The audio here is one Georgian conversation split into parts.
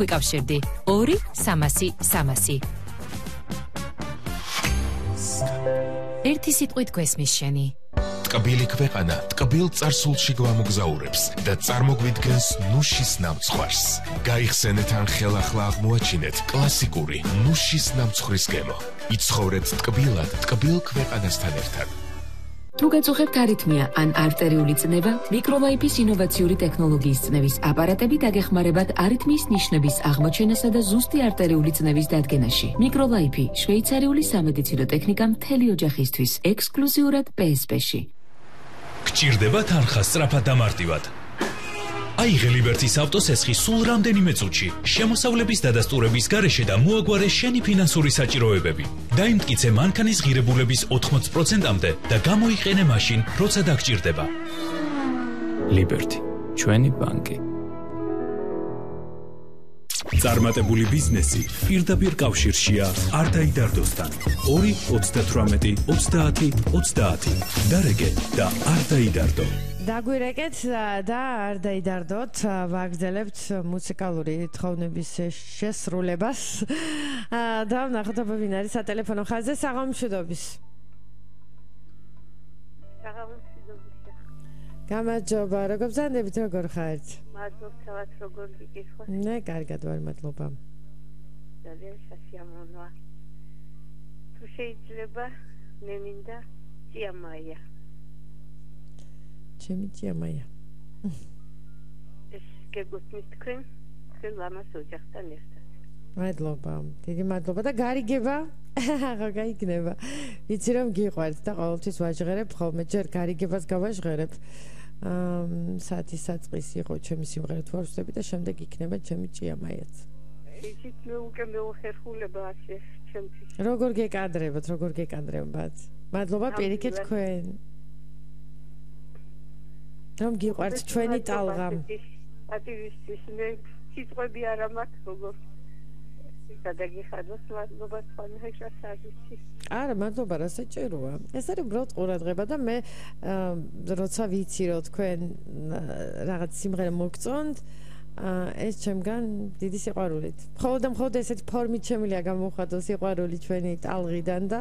ვიკავშირდი 2-300-300. ერთი სიტყვით გვესმის შენი. ტკბილი ქვეყანა ტკბილ წარსულში გვამოგზაურებს და წარმოგვიდგენს ნუშის ნამცხვარს. გაიხსენეთ ან ხელახლა აღმოაჩინეთ კლასიკური ნუშის ნამცხვრის გემო. იცხოვრეთ ტკბილად ტკბილ ქვეყანასთან ერთად. თუ გაწუხებთ არითმია ან არტერიული წნევა, მიკროლაიფის ინოვაციური ტექნოლოგიის წნევის აპარატები დაგეხმარებათ არითმიის ნიშნების აღმოჩენასა და ზუსტი არტერიული წნევის დადგენაში. მიკროლაიფი შვეიცარიული სამედიცინო ტექნიკა მთელი ოჯახისთვის, ექსკლუზიურად PSP-ში. გჭირდება თანხა სწრაფად და მარტივად. აიღე ლიბერტის ავტოსესხი სულ რამდენიმე წუთში, შემოსავლების დადასტურების გარეშე და მოაგვარე შენი ფინანსური საჭიროებები. დაიმტკიცე მანქანის ღირებულების 80%-მდე და გამოიყენე მაშინ, როცა დაგჭირდება. ლიბერტი, ჩვენი ბანკი. წარმატებული ბიზნესი პირდაპირ კავშირშია არ დაიდარდოსთან. 2-38-30-30 დარეგე და არ დაიდარდო. დაგვირეკეთ და არ დაიდარდოთ, ვაგრძელებთ მუსიკალური თხოვნების შესრულებას და ვნახოთ ვინ არის სატელეფონო ხაზზე. საღამომშვიდობის. გამარჯობა, როგორ ბრძანდებით, როგორ ხართ? მადლობა, როგორ გიგიხოთ? ნე, კარგად ვარ, მადლობა. ძალიან სასიამოვნოა. თუ შეიძლება, მე მინდა ჭიამაია. ჩემი ჭიამაია. ეს გეგუთმის თქვენ ლამას ოჯახთან ერთად. მადლობა, დიდი მადლობა და გარიგება აღა გაიგნება. ვიცი რომ გიყვართ და ყოველთვის ვაჟღერებ ხოლმე, ჯერ გარიგებას გავაჟღერებ. საათი საწყისი იყო ჩემი სიმღერა თუ არ ვსწრები და შემდეგ იქნება ჩემი ჭიამაიაც. ისიც მე უკვე მეუხერხულება ასე ჩემთვის. როგორ გეკადრებათ? მადლობა პირიქით თქვენ. რომ გიყვართ ჩვენი ტალღა. პატივისთვის მე სიტყვები არ მაქვს როგორ გადაგიხადოს, მადლობა თქვენს სარვისი. არა, მადლობა, რა საჭიროა. ეს არის უბრალოდ ყურადღება და მე როცა ვიცი რომ თქვენ რაღაც სიმღერა მოგწონთ, ეს ჩემგან დიდი სიყვარულით. მხოლოდ ესეთი ფორმით შემიძლია გამოვხატოს სიყვარული ჩვენი ტალღიდან და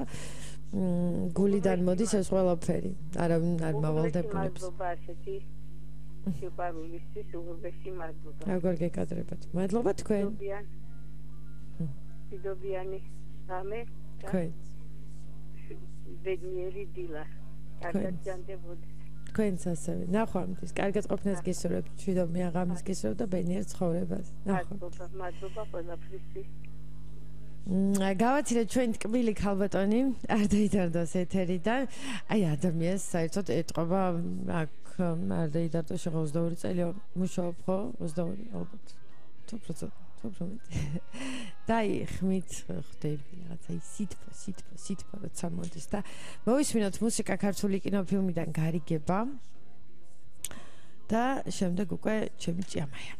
გულიდან მოდის ეს ყველაფერი. არავინ არ მავალდებულებს. მადლობა ასეთი სიყვარულისთვის უღრმესი მადლობა. როგორ გეკადრებათ? მადლობა თქვენ. დიდობიანი რამე. თქვენ. ბედნიერი დილა. კარგად ჯანდებოდეს. თქვენც ასევე. ნახვამდის. კარგად ყოფნას გისურვებთ. მშვიდობიან ღამეს გისურვებთ და ბედნიერ ცხოვრებას. მადლობა ყველაფრისთვის. გავაცილეთ ჩვენ ტკბილი ქალბატონი არ დაიდარდოს ეთერიდან. აი ადამიანს საერთოდ ეტყობა აქ არ დაიდარდო შეხო 22 წელი მუშაობ ხო 22 ალბათ თოფროც დაიხმით ხდები რაღაცა სითფო როცა მოდის და მოვისმინოთ მუსიკა ქართული კინოფილმიდან გარიგება და შემდეგ უკვე ჩემი ჭიამაია.